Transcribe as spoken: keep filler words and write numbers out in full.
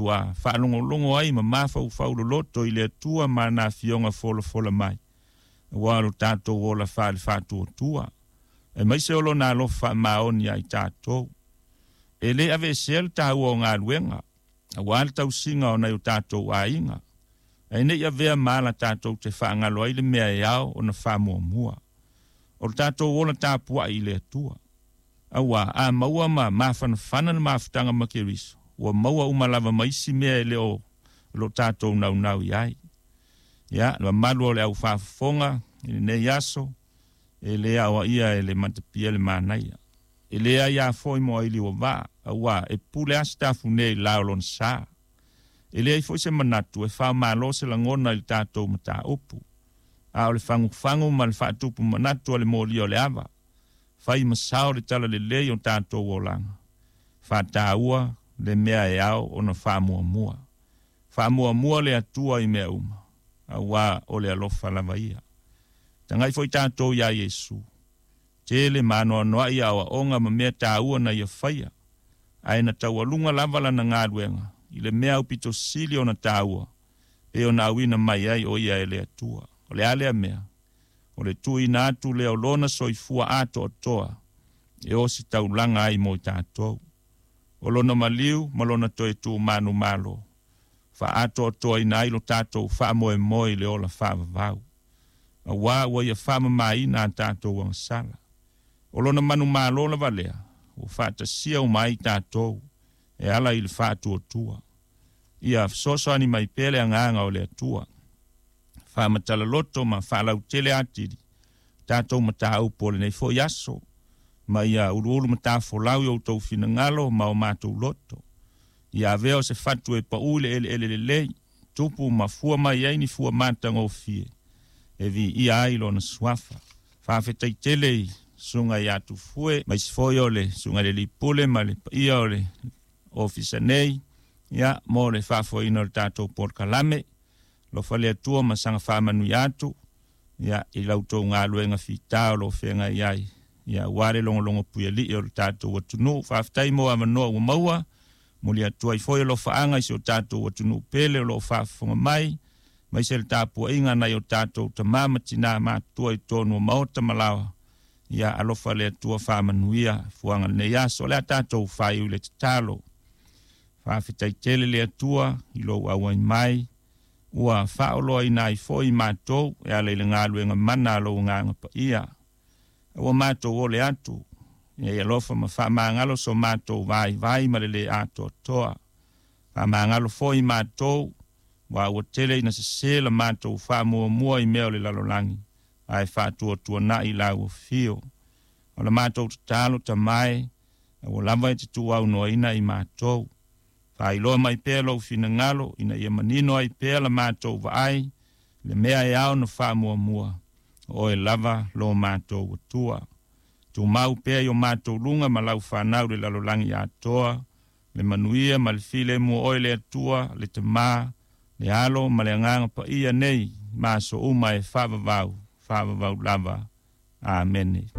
Ua faalogologo ai ma mafaufau loloto i le Atua ma ana afioga folafola mai, aua o lo tatou ola faale-faatuatua, aemaise o Lona alofa faamaoni ia i tatou. E lē aveesea le taua o galuega, auā le tausiga o nai o tatou aiga, ae nei avea ma ala tatou te faagalo ai le mea e ao ona faamuamua, o le tatou ola tapuai i le Atua. Auā a maua ma mafanafana le mafutaga ma Keriso, ua maua uma lava ma isi mea e le o lo tatou naunau i ai. Ia, le mamalu o le au faafofoga i lenei aso, e le aoaia e le matapia le manaia. E leai a foi mo aili ua vaa, auā e pule a i la o lona sa. E leai foi se manatu e faamalo se lagona i le tatou mataupu, a o le fagufagu ma le faatupu manatu a le molia o le ava, fai ma sao le tala lelei o tatou olaga, faataua le mea e ao ona faamuamua. Faamuamua le Atua i mea uma, auā o le alofa lava ia. Tagai foi tatou iā Iesu, tele ma anoanoai aoaoga ma mea taua na ia faia, ae na taualuga lava lana galuega i le mea aupito sili ona taua, pe ona auina mai ai o ia e le Atua. O le a lea mea? O le tuuina atu lea o lona soifua atoatoa e ositaulaga ai mo i tatou. O lona maliu ma lona toe tumanumalo, faaatoatoaina ai lo tatou faamoemoe i le ola faavavau, auā ua ia faamamaina a tatou agasala. O lona manumalo lava lea, ua faatasia uma ai tatou e ala i le faatuatua. Ia fesoasoani mai pea le agaga o le Atua, faamatala ma faalautele atili tatou mataupu o lenei foi aso, ma ia uluulu matafolau i outou finagalo ma o matou loto. Ia avea o se fatu e paū i le eleele lelei, tupu ma fua mai ai ni fua matagofie, e viia ai lona suafa. Faafetai tele i susuga ia Tufue, ma isi foi o le susuga i le Lipule ma le paia o le ofisa nei, ia mo le faafoeina o le tatou polokalame. Alofa le Atua ma saga faamanuia atu, ia i la outou galuega fitā o lo o feagai ai, ia auā le logologo puialii o le tatou atunuu. Faafetai mo avanoa ua maua, moli atu ai foi alofaaga i si o tatou atunuu pele o lo o faafofoga mai, aemaise le tapuaiga nai o tatou tamā ma tinā matutua i totonu o maota ma laoa. Ia alofa le Atua faamanuia fuaga lenei aso. O le a tatou faaiu i le tatalo. Faafetai tele le Atua i lou auai mai, ua faaoloaina ai foi matou e ala i le galuega mana a lou agaga paia. Ua matou ole atu, ia i alofa ma faamagalo so matou vaivai ma le lē atoatoa. Faamagalo foi matou, ua ua tele ina sesē la matou faamuamua i mea o le lalolagi, ae faatuatuanai lau afio. O la matou tatalo tamae, ua lava e te tuuaunoaina i matou. Faailoa mai pea lou finagalo, ina ia manino ai pea la matou vaai, le mea e ao na faamuamua, o oe lava lo matou Atua. Tumau pea i o matou luga ma lau fanau le lalolagi atoa, le manuia ma le filemu o oe le Atua, le Tamā, le Alo ma le Agaga Paia nei, ma aso uma e faavavau, faavavau lava. Amene.